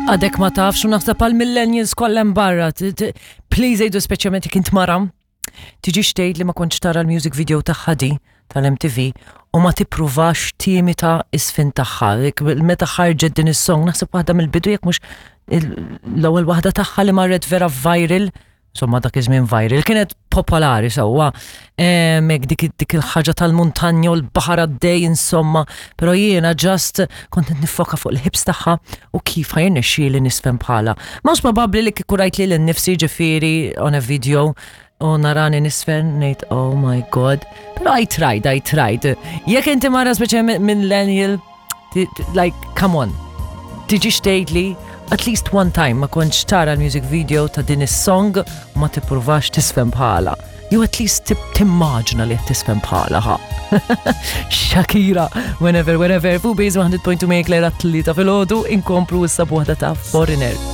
Għadek ma tafx u naħseb għal millennials kollha barra. Please għidu speċjalment jekk int mara. Tiġix tgħid li ma kontx tara l-music video tagħha di tal-MTV u ma tippruvax timita is-sfin tagħha. Meta ħarġet din is-song naħseb waħda mill-bidu jekk mhux l-ewwel waħda tagħha li marret vera viral insomma dak iż-żmien viral, kienet popolari sewwa. Mek dik dik il-ħaġa tal-muntanja u l-baħar għaddej insomma, però jiena just kont qed niffoka fuq il-ħibs tagħha u kif ħa jirnexxieli nisfen bħala. Mhux probabbli li kieku rajt lili nnifsi ġifieri on a video u narani nisfen ngħid oh my god. Però I tried, I tried. Jekk inti mara speċjalment millennial Like, come on. Tiġix tgħidli at least one time ma kontx tara l-music video ta' din is-song u ma tippruvax tisfem bħala. Jew at least timmaġna li qed tisfem bħala ħa. Shakira, whenever, wherever, fuq Base 100.2 Mayor Claire għat-tlieta filgħodu inkomplu issa b'waħda ta' Foreigner.